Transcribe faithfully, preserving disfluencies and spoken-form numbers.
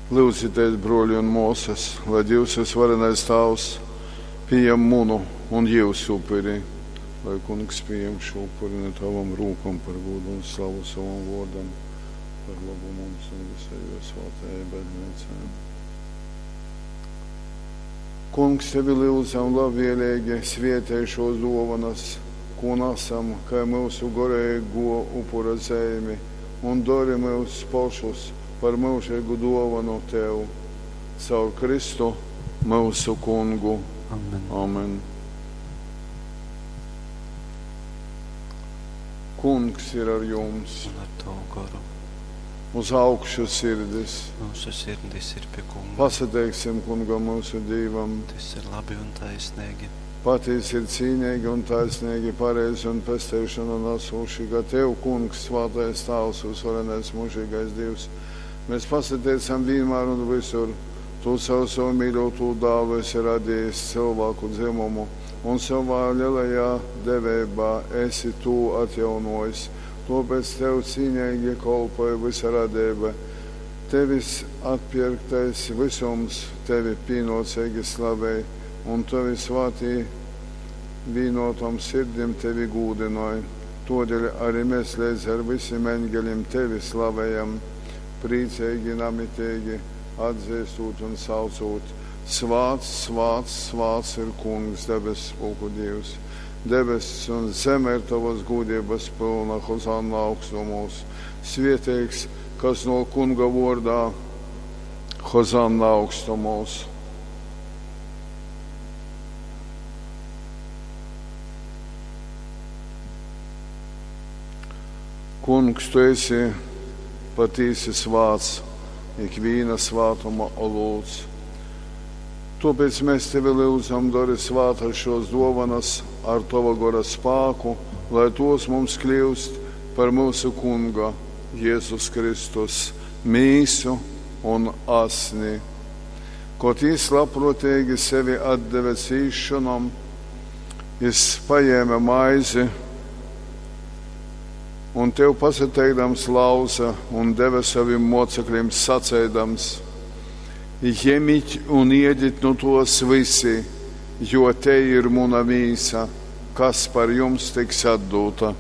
Lyudzitēs, bruoļi un muosys, lai Dīvs Vysvarenais Tāvs pījam munu un jyusu upuri. Lai Kungs pījam šū upuri nu tavom rūkom par gūdu un slavu sovam vuordam, par lobu mums un visai juo svātajai Bazneicai. Kungs, tevi lyudzam labvieleigi svietej šuos duovanas, kū nasam kai myusu goreiguo upura zeimi, un dori myus pošus par myužeigu duovonu tev caur Kristu myusu Kungu. Amen. Amen. Kungs ir ar jums. Un ar tavu goru. Uz augšu sirdis. Mūsu sirdis ir pie Kunga. Pasateiksim Kungam mūsu Dīvam. Tas ir labi un taisnīgi. Patiesi ir cīnīgi un taisnīgi, pareizi un pesteišanu nesoši, ka Tev, Kungs, svētais Tāvs, uzvarenais mūžīgais Dievs, mēs pasateicam vienmēr un visur. Tu caur savu mīļoto dālu esi radījis cilvēku dzimumu un savā lielajā deveibā esi tū atjaunojis. Tāpēc Tev cīnīgi kolpoja visa radība. Tevis atpirktais visums tevi pienocīgi slavē, un tavi svātī vienotom sirdim tevi gūdinoja. Todēļ arī mēs līdz ar visiem eņģeļiem tevi slavējam, priecīgi, namitīgi, atzīstot un saucot. Svāts, svāts, svāts ir Kungs, debesu pulku Dievs. Debesis un zeme ir tavas gūdības pilna, Hozanna augstumos. Svētīgs, kas no Kunga vārdā, Hozanna augstumos. Kungs, tu esi patīsi svāts, ikvīna svātuma olūts. Tāpēc mēs tevi lūdzam, dari svātas šos dovanas ar tava gora spāku, lai tos mums kļūst par mūsu Kunga Jēzus Kristus mīsu un asni. Kot jis labprātīgi sevi atdeve cīšanom, jis paņēma maizi un tev pasateikdams lauza un deva saviem mocekļiem sacēdams: Ņemiet un iediet no tos visi, jo te ir muna mīsa, kas par jums tiks atdota.